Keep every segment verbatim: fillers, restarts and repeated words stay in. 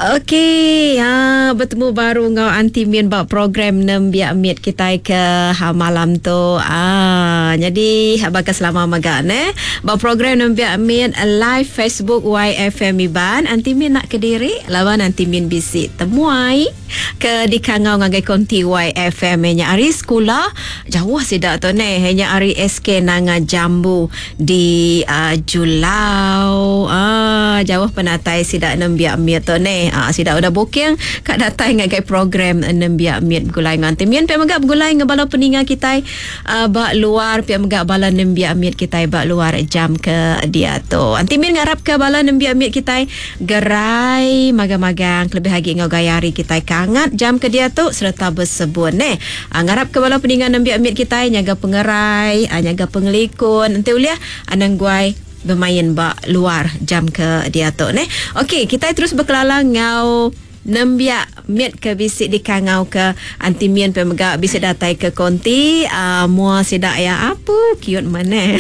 Okey, ha, betemu baru ngau Aunty Min ba program Nembiak Mit kita ke ha, malam tu. Ah, jadi baka selama maga ne. Ba program Nembiak Mit live Facebook Y F M Iban, Aunty Min nak kediri lawan Aunty Min bisi temuai ke dikangau ngagai konti Y F M nya ari sekolah jauh sida tu ne, nya ari S K Nanga Jambu di uh, Julau. Ah, jauh penatai sida Nembiak Mit tu ne. Ah, sida udah booking kat datai ngagai program Nembiak Mit begulai ngan Aunty Min, pia mega begulai ngan bala peninga kita uh, ba luar, pia mega bala Nembiak Mit kita ba luar jam ke dia tu. Aunty Min ngarap ke bala Nembiak Mit kita gerai magang-magang lebih lagi ngau gaya hari kita kangat jam ke dia tu serta bersebun ne. Ah, ngarap ke bala peninga Nembiak Mit kita nyaga pengerai, ah, nyaga pengelikun. Enti uliah anang guai bermain ba luar jam ke dia tu ne. Okey, kita terus berkelala ngau Nembiak Mit ke bisi dikangau ke Aunty Min pe mega bisi datai ke konti uh, mua sida ya apu cute mana.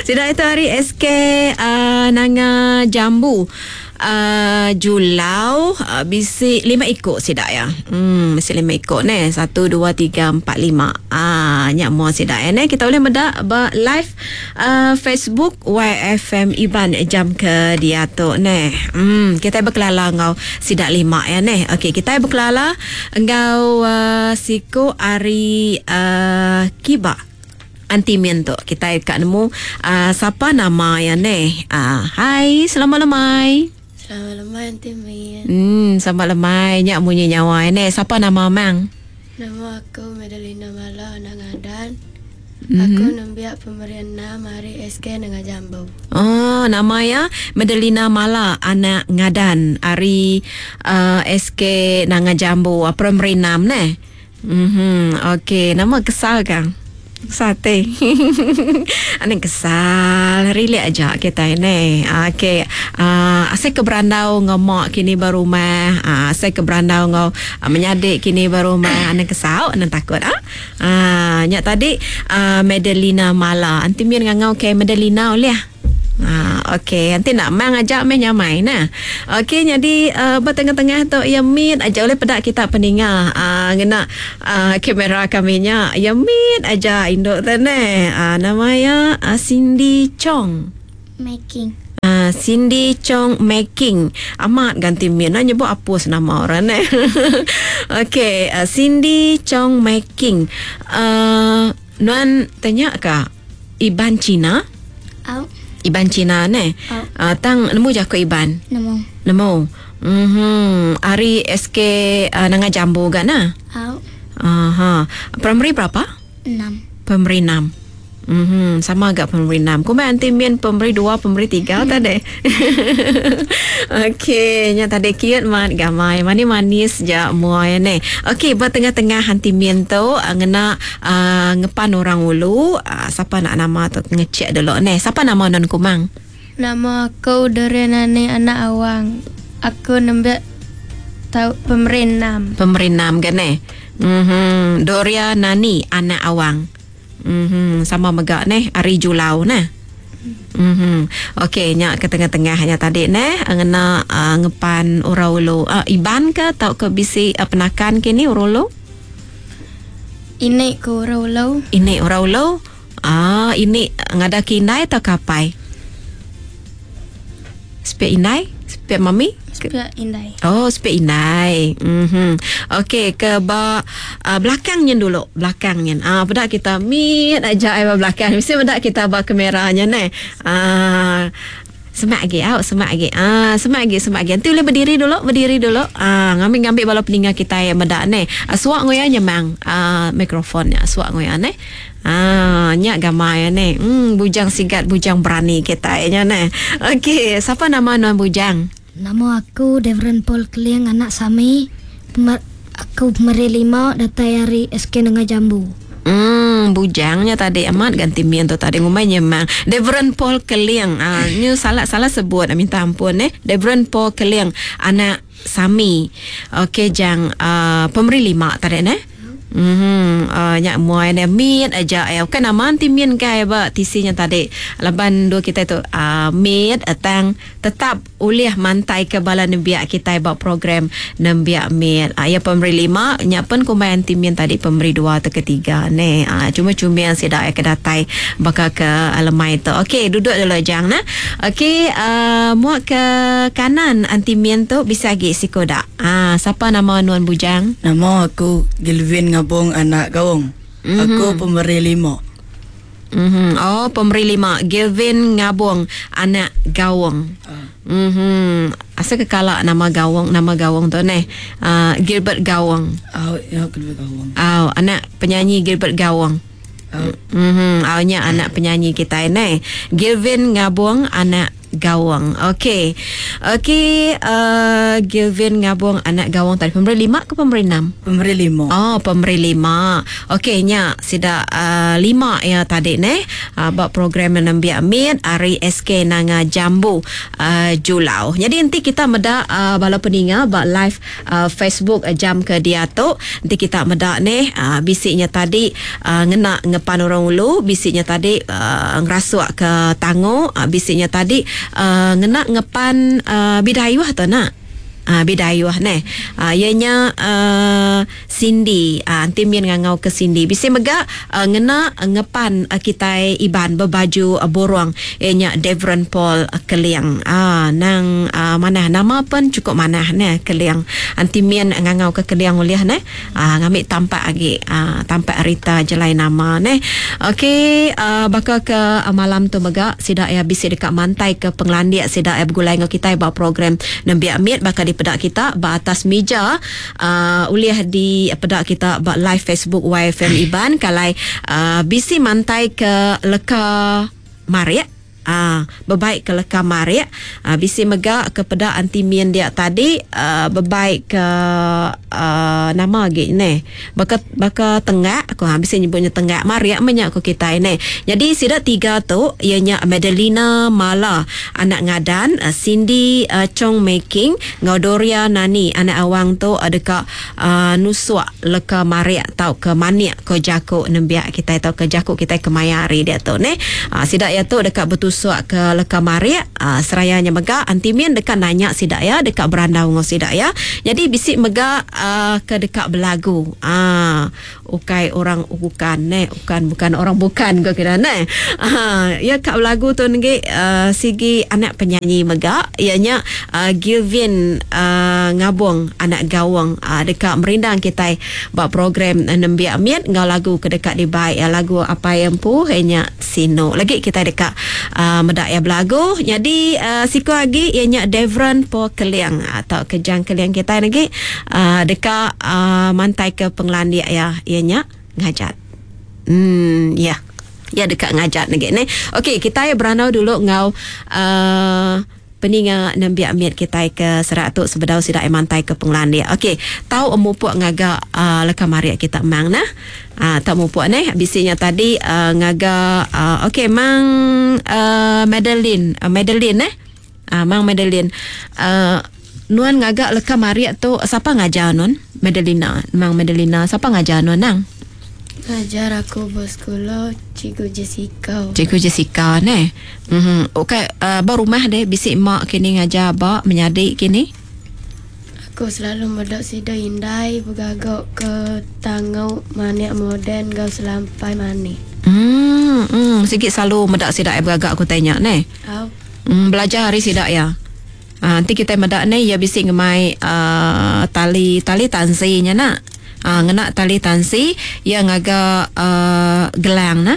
Sida itu hari S K uh, Nanga Jambu. Uh, Julau uh, bisi lima ikut sida ya. Hmm, bisi lima ikut ne. Satu, dua, tiga, empat, lima. Ah, nyak mua sida ya ne. Kita boleh medak ba live uh, Facebook Y F M Iban jam ke dia tu ne. Hmm, kita berkelala ngau sida lima ya ne. Okey, kita berkelala ngau uh, siku ari uh, Kiba. Aunty Min tu kita kat nemu uh, siapa nama ya ne. Uh, hai, selamat lemai. Selamat lemai Aunty Min. Hmm, selamat lemai nyak munyi nyawa ne. Siapa nama mang? Nama aku Medelina Mala anak Ngadan. Mm-hmm. Aku nembiak pemberian nama hari S K Nanga Jambu. Oh, nama ya Medelina Mala anak Ngadan hari uh, S K Nanga Jambu primary enam ne. Mhm, okey, nama kesal kan? Sate. Aneh kesal, relax aja kita ni. Okey. Ah, uh, saya ke berandau ngau mak kini baru rumah. Ah, uh, saya ke berandau ngau uh, menyadik kini baru rumah. Aneh kesal, aneh takut ah. Ah, nyak tadi uh, Medelina Mala. Anti min ngau ke Medelina oleh. Ah, okey, nanti nak mang ajak meh nyamai nah. Okey, jadi uh, bertengah-tengah tu ya min aja oleh pedak kita peninga. Ah, ngena uh, kamera kami nya. Ya min aja induk tu ne. Ah, nama ya uh, Cindy Chong Making. Uh, Cindy Chong Making. Amat ganti min nak nyebut apus nama orang ne. Okey, uh, Cindy Chong Making. Uh, nuan tanya ka Iban Cina? Au. Iban Cina ne. Oh. Uh, tang nemu jako Iban. Nemu. Nemu. Mhm. Ari S K uh, Nanga Jambu ga na? Au. Aha. Primary berapa? Enam. Primary enam. Mhm, sama agak primary enam. Kumai anti min primary dua, primary tiga tadi. Okey, nya tadi kiat mat gamai. Manis-manis je muai ne. Okey, buat tengah-tengah anti min tu ngena uh, ngepan orang ulu, uh, siapa nak nama tu ngecek dulu ne. Siapa nama non kumang? Nama aku Dorenane anak Awang. Aku nembak tau primary enam. Primary enam kan ne? Mhm, Doria Nani anak Awang. Mm-hmm. Sama megak neh ari Julau neh. Mhm. Okey, nyak ke tengah-tengahnya tadi neh ngena uh, ngepan urau ulu. Uh, Iban ke tau ke bisi uh, penakan kini urau ulu? Ini ke urau ulu. Ini urau ulu. Ah, ini ngada kinai atau kapai? Spek inai? Spek mami? Spek indai. Oh, spek indai. Mhm. Okey, ke ba uh, belakangnya dulu, belakangnya. Ah, pedak kita mit aja ai ba belakang. Mesti pedak kita ba kameranya ne. Ah, semak lagi, au, semak lagi. Ah, semak lagi, semak lagi. Nanti boleh berdiri dulu, berdiri dulu. Ah, ngambil-ngambil bala peninga kita yang medak ne. Ah, suak ngoya nyemang ah mikrofonnya, suak ngoya ne. Ah, nyak gamai ne. Hmm, bujang sigat, bujang berani kita nya ne. Okey, siapa nama nuan bujang? Nama aku Devren Paul Keling anak Sami. Pemer, aku pemeri lima datai hari S K Nanga Jambu. Hmm, bujangnya tadi amat ganti mian tu tadi ngumai nyemang. Devren Paul Keling. Ah, nyu salah-salah sebut, minta ampun eh. Devren Paul Keling anak Sami. Okey, jang uh, pemeri lima tadi ne. Mhm, uh, nyak muai ne mit aja ya. Bukan nama anti min kai ba tisinya tadi. Laban dua kita tu uh, mit tang tetap ulih mantai ke bala nembiak kita ba program nembiak mit. Uh, ya pemberi lima, nyak pen kumbai anti min tadi pemberi dua atau ketiga ne. Uh, cuma cumil sida ke datai baka ke lemai tu. Okey, duduk dulu jang nah. Okey, uh, muak ke kanan anti min tu bisa lagi sikodak. Ah, siapa nama nuan bujang? Nama aku Gilvin Ngabong anak Gawong. Mm-hmm. Aku pemberi lima. Mm-hmm. Oh, pemberi lima. Gilvin Ngabong anak Gawong. Uh. Mm-hmm. Asal kekalak nama Gawong, nama Gawong tu neh. Uh, Gilbert Gawong. Oh, ya Gilbert Gawong. Oh, anak penyanyi Gilbert Gawong. Oh. Mhm, awnya anak penyanyi kita ni. Gilvin Ngabong anak Gawang. Okey. Okey, uh, Gilvin Ngabong anak Gawang tadi pemberi lima ke pemberi enam? Pemberi lima. Oh, pemberi lima. Okey, nya sida uh, lima ya tadi ne. Uh, buat program nembiak mit hari S K Nanga Jambu uh, Julau. Jadi nanti kita medak uh, bala peninga bak live uh, Facebook uh, jam ke dia tu. Nanti kita medak ne uh, bisiknya tadi uh, ngena ngepan orang ulu, bisiknya tadi uh, ngerasuk ke tango, uh, bisiknya tadi Uh, ngena ngepan uh, bidayuh tu nak. Ah, bidayuh neh. Ah, ianya uh, Cindy. Ah, nanti min ngangau ke Cindy. Bisi mega uh, ngena ngepan uh, kitai Iban berbaju uh, borong. Ianya Devron Paul uh, Keliang. Ah, nang uh, manah nama pun cukup manah neh Keliang. Anti min ngangau ke Keliang uliah neh. Ah, ngambil tampak lagi. Ah, tampak Rita jelai nama neh. Okey, uh, bakal ke uh, malam tu mega sidak ya bisi dekat mantai ke penglandiak sidak ya bergulai ngau kitai ba program nembiak mit bakal di pedak kita ba atas meja uh, uliah di pedak kita ba live Facebook Y F M Iban kalai uh, bisi mantai ke leka marik. Ah, bebaik ke leka marik, ah, bisi mega ke pedak anti min dia tadi, ah, bebaik ke ah, nama lagi ni. Baka baka tengak aku ha bisi nyebutnya tengak marik menyak ku kita ni. Jadi sida tiga tu ianya Madelina Mala anak ngadan, Cindy uh, Chong Making ngau Doria Nani anak awang tu uh, dekat uh, nusuk leka marik tau ke manik ko jako nembiak kita tau ke jako kita ke mayari dia tu ni. Ah, sida ya tu dekat betul suak ke leka marik, uh, serayanya mega antimin dekat nanya sidak ya, dekat berandau ngau sidak ya. Jadi bisik mega uh, ke dekat belagu. Ah, ukai orang bukan ne, bukan bukan orang bukan ke kira ne. Ah, ya kat belagu tu ngi uh, sigi anak penyanyi mega ianya uh, Gilvin uh, Ngabong anak Gawang uh, dekat merindang kita buat program uh, nembiak miat ngau lagu ke dekat dibaik ya, lagu apa yang pu hanya sino. Lagi kita dekat Uh, medak ya belagu. Jadi uh, siko lagi ianya Devron Po Keliang atau kejang Keliang kita lagi uh, dekat uh, mantai ke penglandiak ya ianya ngajat. Hmm ya. Ya dekat ngajat lagi ni. Okey, kita ya beranau dulu ngau uh, peninga nembiak miat kita ke serak tu sebedau sidak mantai ke penglandiak. Okey, tau emupuk ngaga uh, leka marik kita mang nah. Ah, tak mupuk ni bisinya tadi uh, ngaga uh, okey mang uh, Madeline, uh, Madeline eh. Ah, mang Madeline. Uh, nuan ngaga leka marik tu siapa ngajar nuan? Madelina, mang Madelina siapa ngajar nuan nang? Ngajar aku bersekolah Cikgu Jessica. Cikgu Jessica ne. Mhm. Okey, uh, ba rumah deh bisik mak kini ngajar ba menyadik kini. Aku selalu medak sida indai bergagak ke tangau manik moden gau selampai manik. Hmm, hmm, sikit selalu medak sida bergagak aku tanya ne. Au. Hmm, belajar hari sida ya. Ha, nanti kita medak ni ya bisik ngemai uh, tali tali tansinya nak. Ah, ngena tali tansi yang agak uh, gelang nah.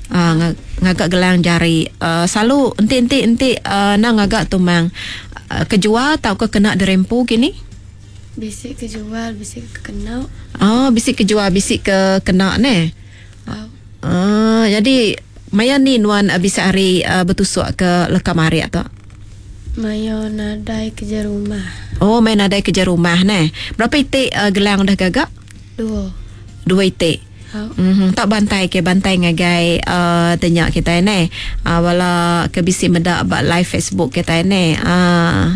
Ah, ngagak gelang jari. Uh, selalu enti-enti enti uh, nang ngagak tumang uh, kejual tau ke kena derempu gini? Bisik kejual, bisik ke kena. Oh, bisik kejual, bisik ke kena ne. Oh. Ah, jadi maya ni nuan uh, bisa hari uh, bertusuk ke leka marik tu. Maya nadai kerja rumah. Oh, main nadai kerja rumah ne. Berapa itik uh, gelang dah gagak? Dua. Dua itik. Oh. Mm-hmm. Tak bantai ke bantai ngagai uh, tanya kita ni. Uh, wala ke bisi medak bak live Facebook kita ni. Uh,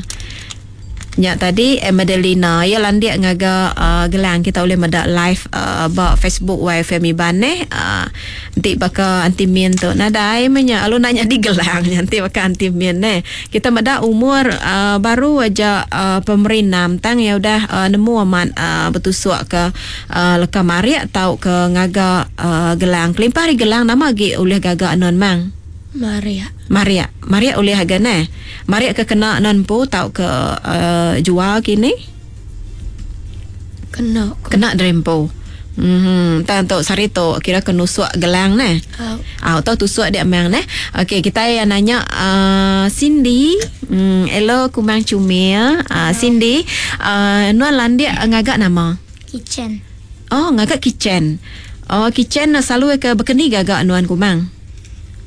Nya tadi Madelina ya landik ngaga uh, gelang kita boleh medak live uh, ba Facebook Y F M Iban neh. Uh, nanti baka anti min tu nadai menya alu nanya di gelang nanti baka anti min neh. Kita medak umur uh, baru aja uh, pemerinam tang ya udah uh, nemu amat uh, betusuk ke uh, leka marik tau ke ngaga uh, gelang. Kelimpah ari gelang nama agi ulih gaga non mang? Maria. Maria. Maria ulih aga neh. Maria ke kena non pu tau ke uh, jual kini? Kena. Kena drempo. Mhm, tang tok sari tok kira ke nusuk gelang neh. Au. Au tau tusuk dia mang neh. Okey, kita yang nanya uh, Cindy. Hmm, hello kumang cumil. Uh, Cindy, uh, nuan landik ngagak nama? Kitchen. Oh, ngagak kitchen. Oh, kitchen selalu ke berkeni gagak nuan kumang?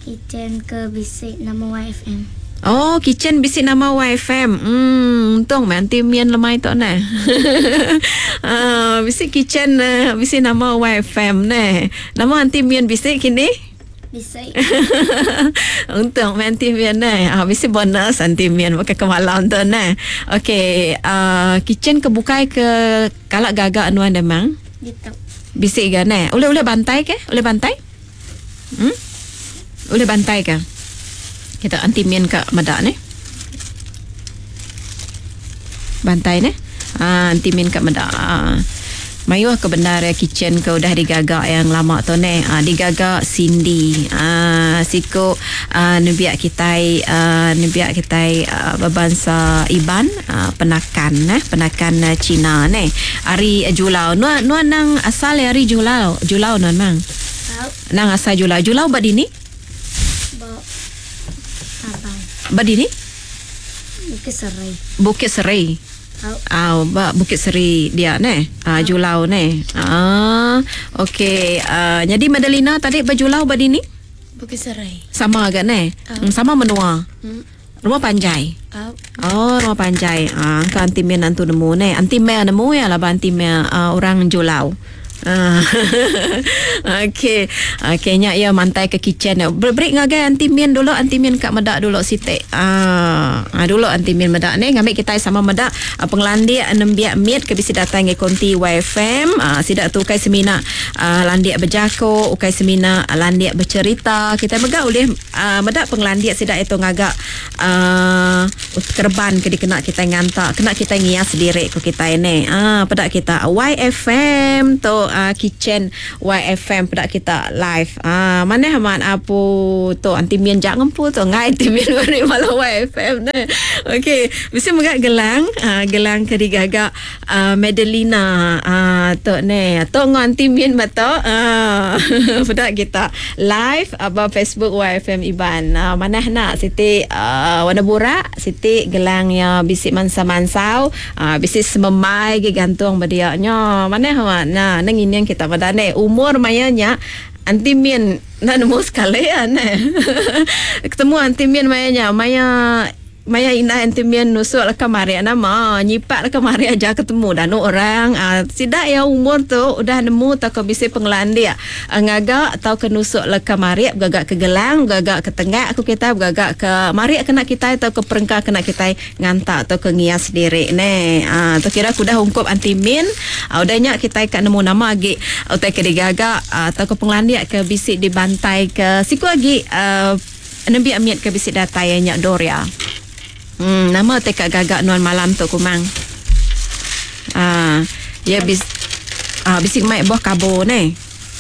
Kitchen ke bisik nama Y F M. Oh, kitchen bisik nama Y F M. Hmm, untung mai anti mian lemai tok neh. Ah, bisik kitchen uh, bisik nama Y F M neh. Nama anti mian bisik kini? Bisik. Untung mai anti mian neh. Ah, bisik bonus anti mian pakai kemalam tu neh. Okey, uh, kitchen ke bukai ke kalak gagak nuan demang? Gitu. Bisik ga neh. Boleh-boleh bantai ke? Boleh bantai? Hmm? Boleh bantai ke? Kita anti mian ke medak ni. Bantai ni. Ha, anti mian ke medak. Ha. Mayuh ke benar ya kitchen ke udah digagak yang lama tu ni. Ha, digagak Cindy. Ha, siko ha, nebiak kitai, ha, nebiak kitai ha, berbangsa Iban, ha, penakan eh, penakan Cina ni. Ari Julau. Nuan nuan nang asal ari Julau. Julau nuan mang. Tau. Nang asal Julau. Julau bad ini? Badi ni? Bukit Serai. Bukit Serai. Au. Ah, ba Bukit Seri dia ne. Ah, Julau ne. Ah, okey. Ah, jadi Madelina tadi berjulau badi ni? Bukit Serai. Sama agak ne? Au. Sama menua. Hmm. Rumah panjai. Au. Oh, rumah panjai. Ah, kan anti men antu nemu ne. Anti mel nemu ya lah anti mel uh, orang Julau. Ah. Okey. Okey, nyak ya mantai ke kitchen. Break ngagai anti min dulu, anti min kat medak dulu sitik. Ah, ah dulu anti min medak ni ngambil kita sama medak ah, penglandik nembiak mit ke bisi datang ke konti Y F M. Ah, sidak tu kai semina ah, landik berjako, ukai semina ah, landik bercerita. Kita megak boleh ah, medak penglandik sidak itu ngagak ah, kerban ke dikena kita ngantak, kena kita ngias sendiri ko kita ni. Ah, pedak kita Y F M tu uh, kitchen Y F M pedak kita live. Ah, mana haman apu tu anti mian jak ngempu tu ngai anti mian beri malam Y F M ne. Okey, mesti megak gelang, uh, gelang ke digagak uh, Madelina ah uh, tu ne. Tu ngau anti mian betul. Ah, pedak kita live aba Facebook Y F M Iban. Uh, mana nak siti uh, warna burak, siti gelang ya bisik mansa-mansau, uh, bisik sememai ge gantung berdiaknya. Mana haman nah nang ini yang kita pada ne umur mayanya anti mian nak nemu sekali ya ne. Ketemu anti mian mayanya maya maya ina anti mian nusuk lah kamari nama nyipak lah kamari aja ketemu dah nu orang ah, sidak ya umur tu udah nemu tak ke bisi penglandia ah, ngagak atau ke nusuk lah kamari gagak ke gelang gagak ke tengah aku kita gagak ke mari kena kita atau ke perengka kena kita ngantak atau ke ngias sendiri ne ah, tu kira aku dah ungkup anti min ah, udah nyak kita kat nemu nama agi utai ke digagak ah, atau ke penglandia ke bisi dibantai ke siku agi ah, nembi amiat ke bisi datai nyak Doria. Hmm, nama tekak gagak nuan malam tu kumang. Ah, ya bis ah bisik mai buah kabo ne.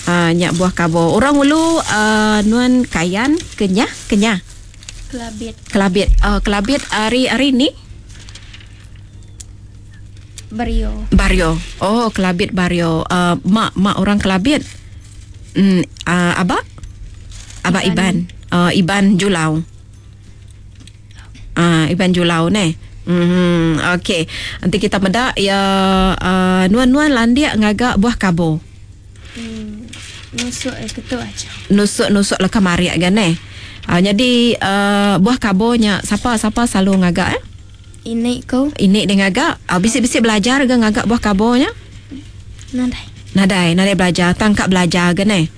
Ah, nyak buah kabo. Orang ulu uh, nuan kayan kenyah kenyah. Kelabit. Kelabit. Uh, kelabit hari hari ni Bario. Bario. Oh, Kelabit Bario. Uh, mak mak orang Kelabit. Hmm, uh, abak? Abak Iban. Iban. Uh, Iban Julau. Ah, Iban Julau ne. Hmm, okey. Nanti kita medak ya uh, nuan-nuan landiak ngagak buah kabo. Hmm, nusuk eh ketuk aja. Nusuk-nusuk lah kamari kan ne. Ah, jadi uh, buah kabonya siapa siapa selalu ngagak eh? Ini kau. Ini dia ngagak. Ah, bisik-bisik belajar ke ngagak buah kabonya? Nadai. Nadai, nadai belajar, tangkap belajar ke ne.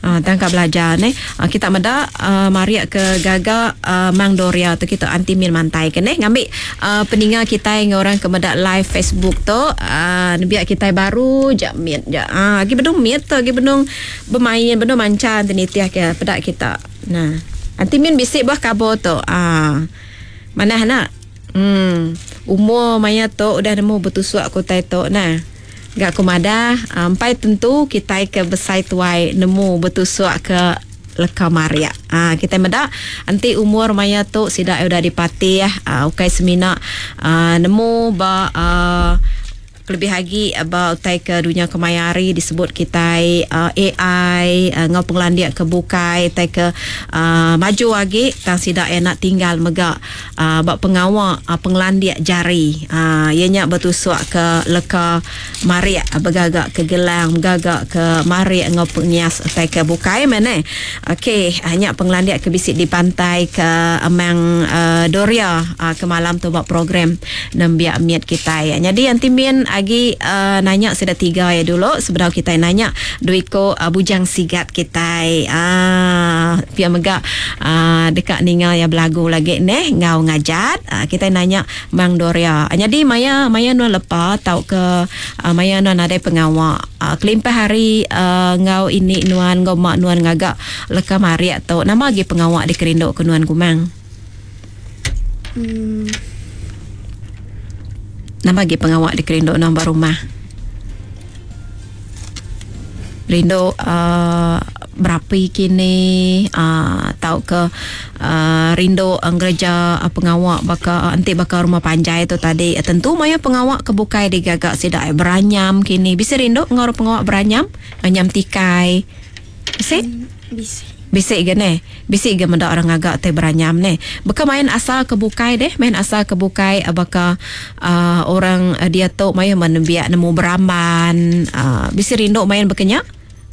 Uh, tangkap belajar ne. Uh, kita meda uh, maria ke gaga uh, Mang Doria tu kita anti min mantai ke ne ngambil uh, peninga kita dengan orang ke meda live Facebook tu uh, nebiak kita baru jak mit jak. Ah uh, lagi benung mit tu lagi benung bermain benung mancan tenitiah ke pedak kita. Nah, anti min bisik buah kabur tu. Ah. Uh, mana nak? Hmm, umur maya tu udah nemu betusuk aku tai tu nah. Gak aku madah, ampai tentu kita ke besai tuai nemu betusuk ke leka maria. Ah, kita meda anti umur maya tu sida udah dipatih ah, ukai semina ah, nemu ba ah, lebih lagi about utai ke dunia kemayari disebut kita uh, A I uh, ngau penglandiak ke bukai utai ke uh, maju lagi tang sida enak tinggal mega uh, bak pengawak uh, penglandiak jari uh, ianya bertusuk ke leka marik bergagak ke gelang bergagak ke marik ngau pengias utai ke bukai mana. Okey, hanya penglandiak ke bisik di pantai ke Amang uh, Doria uh, ke malam tu buat program nembiak miat kita ya. Jadi anti min lagi uh, nanya sudah tiga ya dulu sebelum kita nanya duiko uh, bujang sigat kita ah pia mega uh, dekat ninga ya belagu lagi neh ngau ngajat uh, kita nanya Mang Doria. Jadi maya maya nuan lepa tau ke uh, maya nuan ada pengawak uh, kelimpah hari uh, ngau ini nuan ngau mak nuan ngagak leka mariak tu nama lagi pengawak dikerinduk ke nuan kumang. Hmm. Nama lagi pengawak di kerinduk nombor rumah. Rindu uh, berapi kini uh, tau ke uh, rindu ngereja uh, pengawak baka uh, anti baka rumah panjai tu tadi uh, tentu maya pengawak kebukai digagak sidak beranyam kini bisa rindu ngor pengawak beranyam anyam tikai bisa bisa bisik ge ne bisik ge mendak orang agak te beranyam ne beka main asal kebukai deh main asal kebukai baka uh, orang uh, dia tu main menembiak nemu beramban uh, bisi rindu main bekenya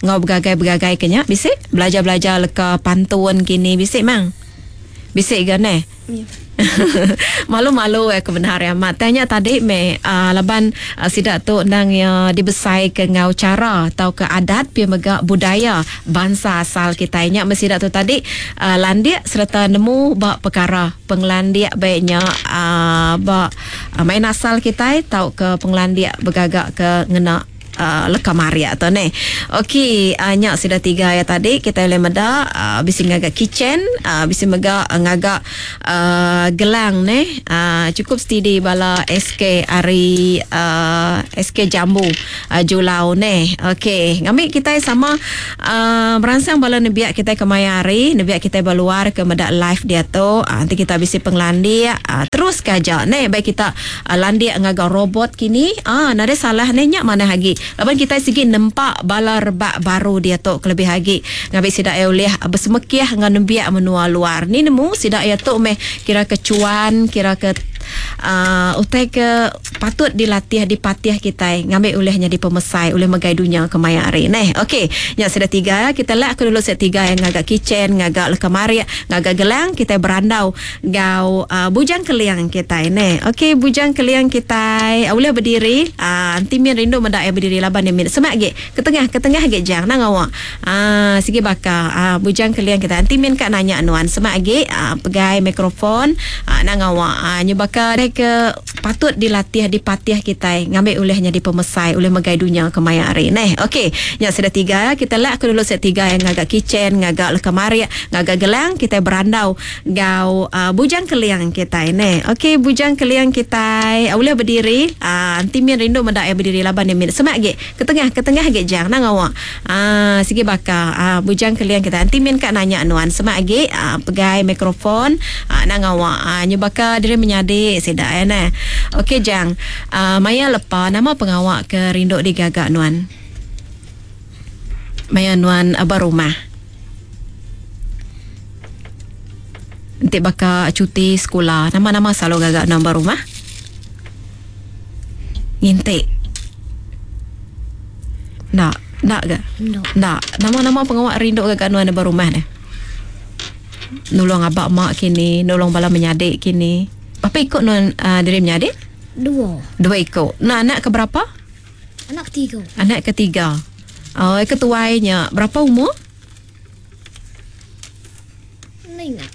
ngau begagai-begagai kenya bisik belajar-belajar leka pantun kini bisik mang bisik ge ne ya. Malu-malu eh kebenaran amat. Tanya tadi me uh, laban uh, sidak tu nang ya dibesai ke ngau cara atau ke adat pi mega budaya bangsa asal kita nya mesti dak tu tadi uh, landik serta nemu bak perkara penglandik baiknya uh, bak uh, main asal kita tau ke penglandik bergagak ke ngena Uh, leka maria tu ne. Okey, uh, nyak sudah tiga ya tadi kita boleh meda uh, bisi ngagak kitchen, uh, bisi mega uh, ngagak uh, gelang ne. Uh, cukup steady bala S K ari uh, S K Jambu uh, Julau ne. Okey, ngambil kita sama uh, merangsang bala nebiak kita ke maya hari, nebiak kita berluar ke meda live dia tu. Uh, nanti kita bisi penglandik uh, terus kaja ne baik kita uh, landik ngagak robot kini. Ah, uh, nade salah ne nyak mana lagi. Laban kita segi nempak bala rebak baru dia tu kelebih lagi ngambil sidak ya oleh bersemekiah dengan nembiak menua luar ni nemu sidak ya tu meh kira kecuan kira ke uh, utai ke patut dilatih dipatih kita ngambil olehnya di pemesai oleh megai dunia ke maya hari neh. Okey, yang sudah tiga kita lak aku dulu set tiga yang ngagak kitchen ngagak leka marik ngagak gelang kita berandau gau uh, bujang keliang kita neh. Okey, bujang keliang kita uh, boleh berdiri uh, anti min rindu mendak berdiri laban dia min semak ge ke tengah ke tengah ge jang nang awak ah sigi bakar ah bujang keliang kita anti min kat nanya nuan semak ge ah, pegai mikrofon ah, nang awak ah nyu bakar ke patut dilatih dipatih kita ngambil olehnya di pemesai oleh megai dunia ke maya hari neh. Okey, yang sudah tiga kita lak aku dulu set tiga yang ngagak kitchen ngagak leka marik ngagak gelang kita berandau gau uh, bujang keliang kita neh. Okey, bujang keliang kita uh, boleh berdiri ah uh, anti min rindu mendak berdiri laban dia min semak ge ke tengah ke tengah ge jang nang awak ah sigi bakar ah bujang keliang kita anti min kat nanya nuan semak ge ah, pegai mikrofon ah, nang awak ah nyu bakar diri menyadik sedak ya nah. Okey jang ah, maya lepa nama pengawak ke rinduk digagak nuan maya nuan abah rumah nanti bakar cuti sekolah nama-nama selalu gagak nombor rumah ngintik. Nak, nak ke? Nak. Nak. Nama-nama pengawak rinduk gagak nuan nombor rumah ni. Nolong abak mak kini, nolong bala menyadik kini. Apa ikut nuan uh, diri menyadik? Dua. Dua ikut. Nah, anak ke berapa? Anak ketiga. Anak ketiga. Oh, ketuainya. Berapa umur? Nak ingat.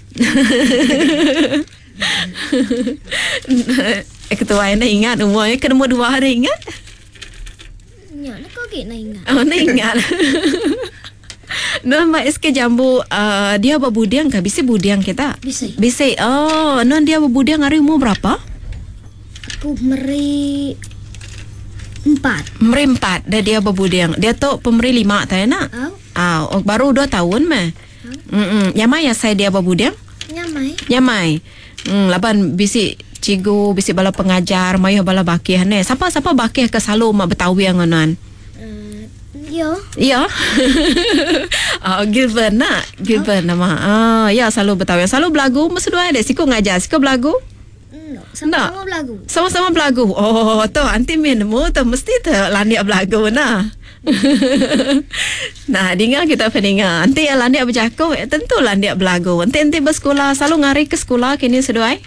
Eh, ketua nak ingat umurnya ke nombor dua hari ingat? Ya, nak kau nak ingat. Oh, nak ingat. Non Mak S K Jambu uh, dia berbudiang kah? Bisi budiang kita? Bisi. Bisi. Oh, non dia berbudiang hari umur berapa? Aku meri empat. Meri empat. Dia dia berbudiang. Dia tu pemeri lima tak nak? Oh. Ah, oh, baru dua tahun meh. Hmm. Nyamai ya saya dia berbudiang? Nyamai. Nyamai. Hmm, laban bisi cikgu, bisi bala pengajar, mayuh bala bakih ne. Siapa-siapa bakih ke selalu mak betawi ngonan? Uh, yo. Ya. Oh, Gilbert nak. Gilbert nama. Ah, ya selalu betawi. Selalu belagu mesti dua ada siku ngajar, siku belagu. No, sama-sama belagu. Sama-sama belagu. Oh, tu anti min mu tu mesti tu landik belagu nah. Nah, dengar kita pendengar. Nanti yang landik berjakuk, tentu landik belagu. Nanti nanti bersekolah selalu ngari ke sekolah kini seduai.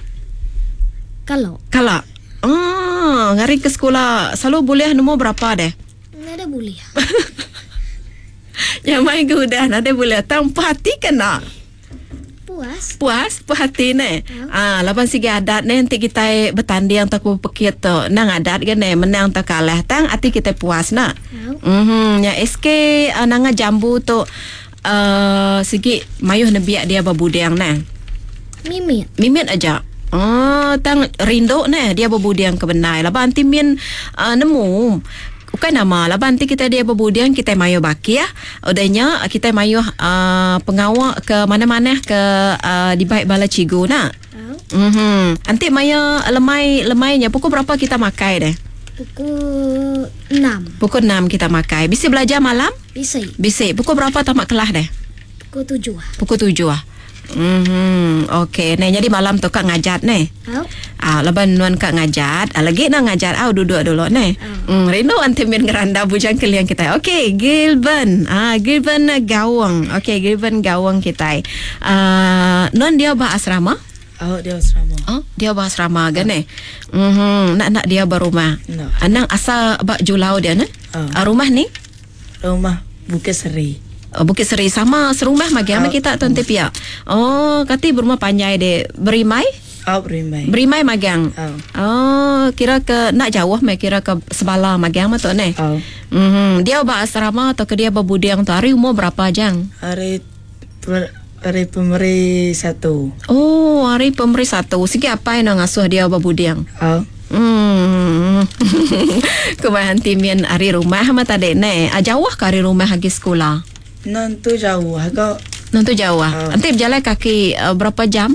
Kalau. Kalau. Ah, ngari ke sekolah selalu boleh nombor berapa deh? Nada boleh. Yang main ke udah nada boleh. Tanpa hati kena. Puas. Puas, puas hati ne. Ah, lapan segi adat ne nanti kita bertanding atau berpekit tu. Nang adat kan ne menang atau kalah tang hati kita puas nak. Mhm, ya S K uh, nanga jambu tu uh, segi mayuh nebiak dia berbudiang ne. Mimit. Mimit aja. Oh, tang rindu ne dia berbudiang ke benai. Laban anti min uh, nemu. Bukan nama laban nanti kita dia berbudiang kita mayu baki ya. Udahnya kita mayu uh, pengawak ke mana-mana ke uh, di baik bala cigu nak. Oh. Mhm. Nanti maya lemai lemainya pukul berapa kita makai deh? Pukul enam. Pukul enam kita makai. Bisa belajar malam? Bisa. Bisa. Pukul berapa tamat kelas deh? Pukul tujuh. Pukul tujuh ah. Mhm. Okey. Nah, jadi malam tu kak ngajat nih. Oh. Ah, laban nuan kak ngajat. Ah, lagi nak ngajat au duduk dulu nih. Oh. Hmm, rindu anti min ngeranda bujang keliang kita. Okey, Gilben. Ah, Gilben Gawang. Okey, Gilben Gawang kita. Ah, nuan dia bah asrama? Oh, dia asrama. Oh, dia bah asrama kan eh? Mhm, nak nak dia berumah. No. Anang asal bak Julau dia ne? Oh. Ah, rumah ni? Rumah Bukit Seri. Oh, Bukit Seri sama serumah magi ama Oh. kita tuan tepiak. Oh, kati berumah panjai de berimai? Oh, berimai. Berimai magang. Oh. Oh, kira ke nak jauh mai kira ke sebala magang mah tu ne. Oh. Mhm, dia ba asrama atau ke dia berbudiang tu hari umur berapa jang? Hari per, hari pemeri satu. Oh, hari pemeri satu. Sikit apa yang nak ngasuh dia berbudiang? Oh. Hmm. Kumahan timian hari rumah mah tadi ne. Ah, jauh ke hari rumah lagi sekolah? Nanti jauh agak. Nanti jauh ah. Oh. Nanti berjalan kaki uh, berapa jam?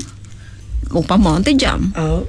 Umpama nanti jam. Oh.